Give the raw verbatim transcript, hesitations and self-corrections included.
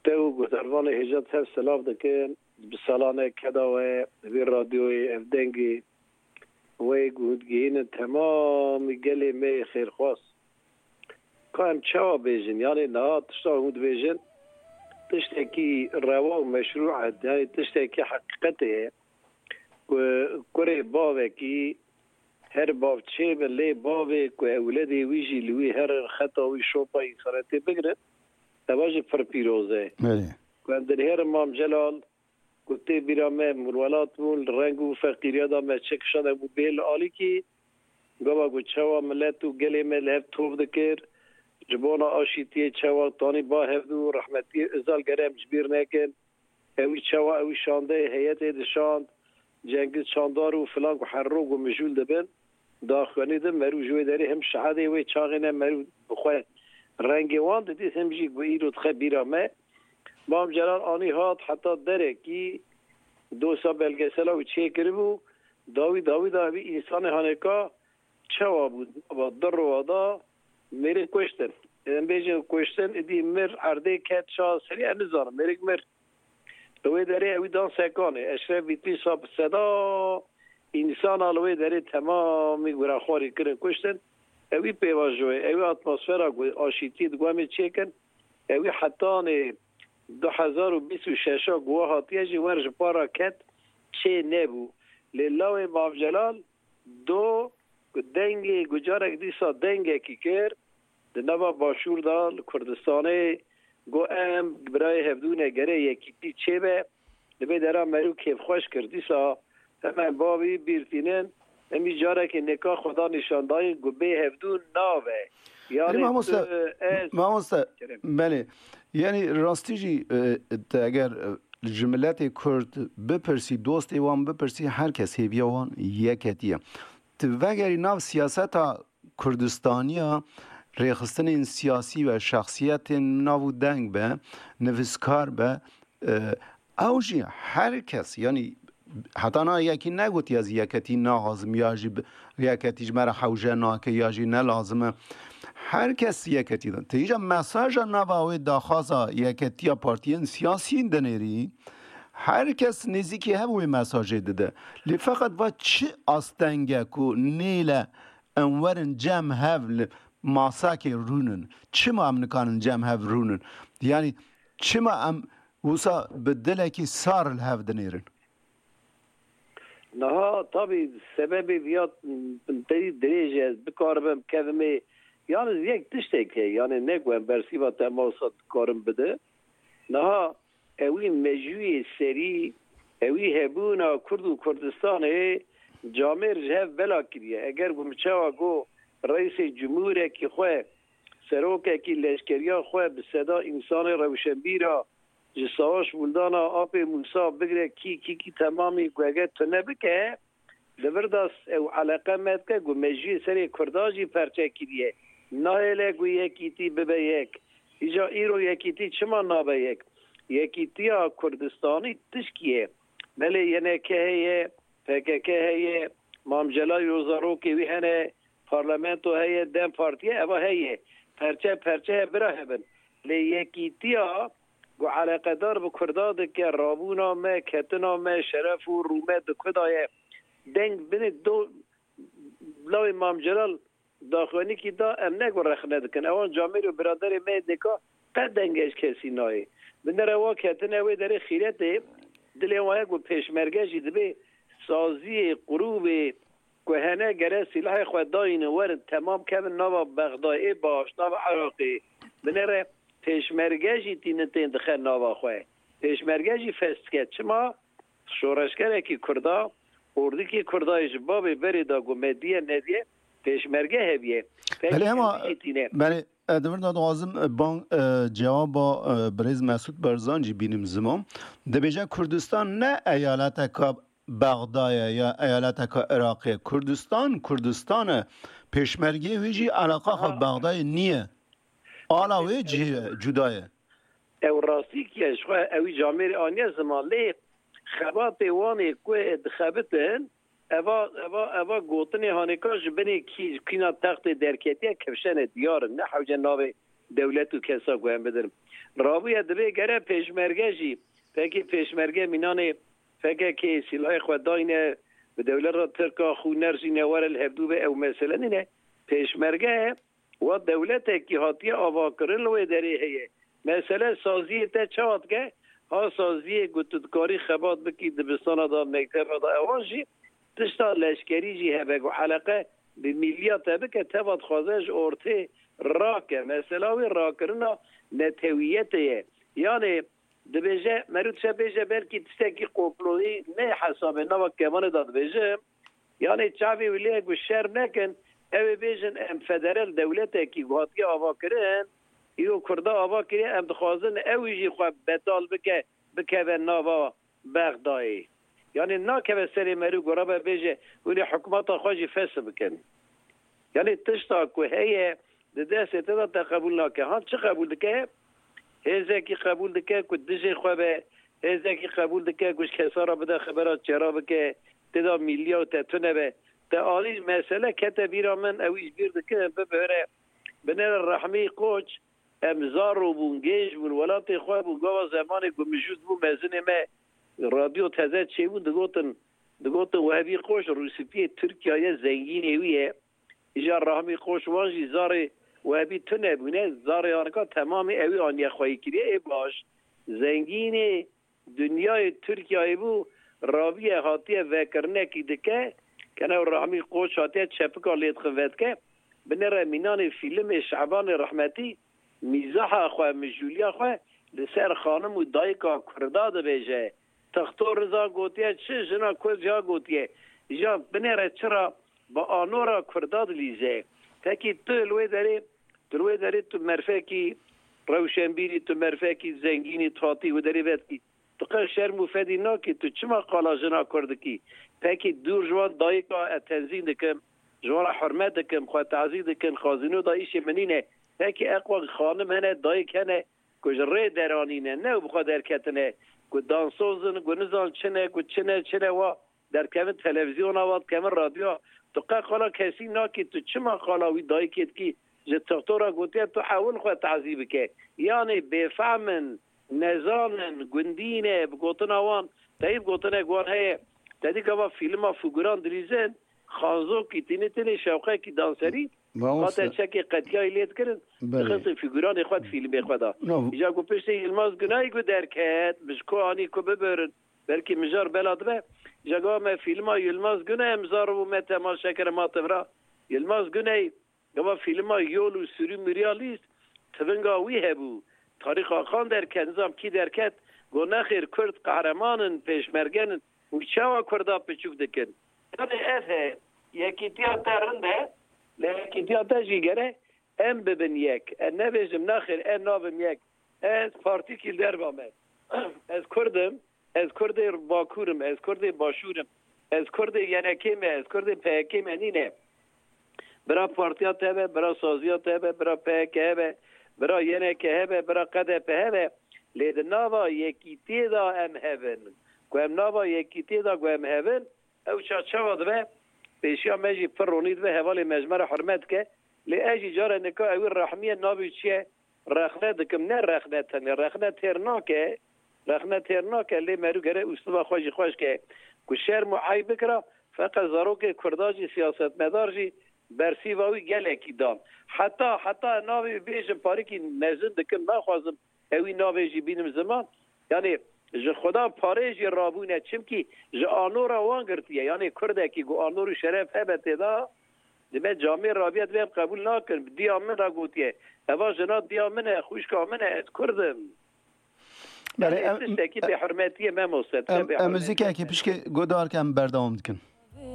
Te û guhdarvanê hêja tev silav dikin. Bi salane keda we, vê radyoyê, ev dengê we ku hûn digihînin temamî gelê me yê xêrxwaz. Ka em çawa bêjin? Yanê niha tişta hûn dibêjin, tiştekî rewa û meşrû e, yanê tiştekî heqîqetê ye. Ku kurê bavekî her bavçê be, lê bavê ku ewledê wî jî li wî herin, xeta wî, şopa însanetê bigirin, eva jî pir pîroz e. Belê. Ku em dinêrin Mam Celal, ku tê bîra me, em welat bûn, li reng û feqîriya de me çi kişand, em bû bê li alîkî, gava ku çawa milet û gelê me li hev tov dikir, ji bona aşîtiyê çawa tanî ba hevdû, rehmetiyê Özal gere em ji bîr nekin. Ewî çawa ewî şandeyê heyetê dişand, Cengiz Çandar û filan ku her roj ku mijûl dibin, daxuyanî din merû ji wê derê him şehadê wê çaxê ne merû bi xwe rengê wan didît, him jî ku îro dixe bîra me. Mam Celal anî hat heta derekî dosa belgesela wî çêkiribû, dawî dawî da ewî însanê hanêka çawa bû, di nava du roja da mêrik kuştin. Em bêjin kuştin, îdî mir, erdê ket, çawa serî, em nizanin, mêrik mir. Li wê derê ewî dan sekanê. Eşref Bîtîsa bi seda însana li wê derê temamî gurexwarî kirin, kuştin. Ewî pêvajoyê, ewî atmosfera ku aşîtiyê di guhemê çêkin, ewî hetanê du hezar û bîst û şeş a ku we hatiye jî wer ji para ket çê nebû. Lê lawê Mam Celal do ku dengê, ku carek dîsa dengekî kir, di nava Başûr de, li Kurdistanê, got, em birayê hevdû ne, gere yekîtî çêbe, li vê dera merû kêfxweş kir. Dîsa hemen bavî bîr tînin, em î carekê nêka xwe da nîşandayîn ku bê hevdû nabe. Belê, yani mamoste, tu, ez mamoste, Kerem. Belê. Yani rastî jî, e, te eger, e, ji miletê Kurd bipirsî, dostê wan bipirsî, her kes hêviya wan yeketî ye. Tu vegerî nav siyaseta Kurdistaniya, rêxistinên siyasî ve şexsiyetên nav û deng be, nivîskar be, e, ew jî her kes, yanî heta niha yekî negotiye ez yeketî naxwazim ya jî bi-, yeketî ji me re hewce nake ya jî ne lazim e. Her kes yeketî de. Te îca mesaja nava wê daxwaza yeketiya partiyên siyasî dinêrî, her kes nêzîkî hev wê mesajê dide. Lê feqet va çi astenge ku nêle em werin cem hev li masakê rûnin. Çima em nikarin cem hev rûnin? Yanî çima em wisa bi dilekî sar li hev dinêrin? Niha tabî sebebê viya teyî dirêj e, ez bikaribim kevimê. Yalnız yek tiştek heye, yani ne ku em bersîva te masa dikarim bide. Niha ewî mejûyê serî, ewî hebûna Kurd û Kurdistanê camêr ji hev bela kiriye. Eger ku min çawa got, Reîsê Cumhûrekî xwe, serokekî leşkeriya xwe bi seda însanê rewşenbîra ji Savaş Buldana, Apê Mûsa bigire kî, kî, kî temamî ku eger tu nebike, Li vir de ew eleqe me dike ku mejiyê serê Kurda jî perçe kiriye. Nahêle ku yekîtî bibe yek. Îca îro yekîtî çima nabe yek? Yekîtiya Kurdistanî tişkî ye. Belê Y N K heye, P K K heye, Mam Celal û zarokê wî hene, parlamento heye, DEM Partî ye, eva heye. Perçe perçe heye, bira hebin. Lê yekîtiya ku eleqedar bi Kurda dike, rabûna me, ketina me, şeref û rûmet di ku de ye. Deng binê do lawê Mam Celal daxuyanîkî da, em ne ku rexne dikin. Ewan camêr û biraderê me yê dêka qet dengê ji kesî nayê. Binêre wa ketine wê derê xîretê, dilê wan ye ku pêşmerge jî dibê saziyê, qurûbê ku hene gere sîlahê xwe dayînin, werin temam kevin nava Bexdayê baş, nava Iraqê. Binêre pêşmerge jî tînin tên dixe nava xwe. Pêşmerge jî fes dike. Çima? Şoreşgerekî Kurda, ordikî Kurda yê ji bavê berê de ku me diye nediye, pêşmerge hebiye. Pekî Belê, hema, hemî jî tîne. Belê, e, di vir de dixwazim, e, ban, e, cewaba, e, birêz Mesûd Barzan jî bînim ziman. Dibêje Kurdistan ne eyaleteka Bexdayê ya eyaleteka Iraqê. Kurdistan, Kurdistan e. Pêşmergeyê wî jî eleqa xwe Ha. Bexdayê niye. Ala wê cihê ye, cuda ye. Ew rastî ki ye, ji xwe ewî camêrê aniye ziman, lê xebatê wan ê ku dixebitin, eva, eva, eva gotinê hanêka ji binê kî, kîna textê derketiye, kifşene diyar in, ne hewce navê dewlet û kesa ku em bidin. Rabûye, divê gere pêşmerge jî, pekî pêşmerge mînanê P K K sîlahê xwe dayne, bi dewleta Tirka xûner jî newere li hevdû be, ew mesele nîne. Pêşmerge wa dewletekî hatiye avakirin li wê derê heye. Mesele saziyê te çawa dike? Ha saziyê ku tu dikarî xebat bikî dibistana da, mekteba da, ewan jî tişta leşkerî jî hebe ku eleqe bi mîliya te bike, teva dixwaze ji ortê rake. Mesela wê rakirina netewiyetê ye. Yanê dibêje, meriv dişe bêje belkî tiştekî komployî ne hesabê nava kevanê da dibêjim. Yanê çavê wî lê ku şerm nekin, ew ê bêjin em federal dewletekî ku hatiye avakirin, îro Kurda ava kiriye, em dixwazin ew jî xwe betal bike, bikeve nava Bexdayê. Yanê nakeve serê meriv ku rabe bêje hûn ê hikûmeta xwe jî fesh bikin. Yanê tişta ku heye di destê te de te qebûl nake. Han çi qebûl dike? Hêzekî qebûl dike ku dijê xwe be, hêzekî qebûl dike ku ji kesa re bide xebera çêra bike, tê de mîliya û te tune be. Te alî mesele kete bîra min, ew îş bîr dikin, bibihire. Binêre Rehmî Koç, em zaro bûn, gênc bûn, welatê xwe bû, gava zemanê ku mijûl bû, mezinê me radyo teze çêbûn, digotin, digotin Wehbî Koç rûspiyê Tirkiyeyê, zengînê wî ye. Îja Rahmî Koç wan jî zarê Wehbî tune bûne, zarê anika temamê ewî aniye xweyî kiriye. Ê baş, zengînê dinyayê Tirkiyeyê bû, raviye hatiye vekirinekî dike, kene Rahmî Koç hatiye çepika lê dixin vedike, binêre mînanê fîlimê Şebanê rehmetî, mîzaha xwe, mijûliya xwe li ser xanim û dayika Kurda dibêje. Texto Riza gotiye çi, jina Kurd ya gotiye. Îja binêre çira bi anora Kurda dilîze. Pekî tu li wê derê, tu li wê derê tu merfekî rewşenbîrî, tu merfekî zengînî, tu hatî wê derê vedikî. Tu qe şerm û fedî nakî, tu çima qala jina Kurd dikî? Pekî dûr ji wan dayika ez tenzîn dikim, ji wan re hurmet dikim, xwe tazî dikin, xazîno da îşê min nîne. Pekî eqwa xanim hene, dayik hene, ku ji rê deranîne, ne û bi xwe derketine, ku dansozin, ku nizan çi ne, ku çi ne, çi ne wa derkevin televîzyona, wa dikevin radyoya. Tu qe qala kesî nakî, tu çima qala wî dayikê dikî? Ji tixtora gotiye tu ewil xwe tazî bike. Yanê bêfehm in, nezan in, gundî ne, bi gotina wan, te yî bi gotinek wan heye. Te dî gava fîlma figuran dilîzin, Xanzokî tînî tînî şewqekî danserî, Mamoste. Hate çekê qetiyayî lê dikirin, Belê. Dixistin figuranê xwe di fîlmê xwe de. No. Îja ku piştî Yilmaz Gunay ku derket, bi ji ku anî ku bibirin, belkî mijar bela dibe. Îja gava me fîlma Yilmaz Gunay em zar bû me temaşe kir, ma tim ra. Yilmaz Gunay, gava fîlma Yol û Sürü Mürrealist, tivinga wî hebû. Tarîk Akan derket, nizam kî derket, got nexêr Kurd qehreman in, pêşmergen in û çawa Kurda piçûk dikin. Yanê ev he, yekîtiya te rind e, lê yekîtiya te jî gere em bibin yek. Ez nebêjim nexêr, ez nabim yek. Ez partîkî li derva me. Ez Kurd im, ez Kurdê Bakur im, ez Kurdê Başûr im, ez Kurdê Y N K me, ez Kurdê P K K me nîne. Bira partiya te be, bira saziya te be, bira P K K hebe, bira Y N K hebe, bira K D P hebe, lê di nava yekîtiyê de em hevin. Ku em nava yekîtiyê de ku em hevin, ew çaçawa dibe, pêşiya me jî pir ronî dibe, hevalê me ji me re hurmet dike. Lê ez jî care nika ewî rehmiyê navê çi ye? Rexne dikim, ne rexne tenê, rexne têr nake, rexne têr nake, lê meriv gere usluba xwe jî xweş ke. Ku şerm û eyb bikira, feqet zarokê Kurda jî, siyasetmedar jî bersîva wî gelekî dan. Heta, heta navê bêjim parîkî mezin dikim, naxwazim ewî navê jî bînim ziman. Yanî ji Xuda parê jî rabûne, çimkî ji anora wan girtiye. Yanî Kurdekî ku anor û şeref hebe tê de, dime camê rabiye, dime em qebûl nakin. Diya min re gotiye. Eva jina diya min e, xwişka min e, ez Kurd im. Belê, Yanî em, tiştekî bêhurmetiyê, me moste, em, em muzîkekê pişkê guhdar ke em berdewam dikin.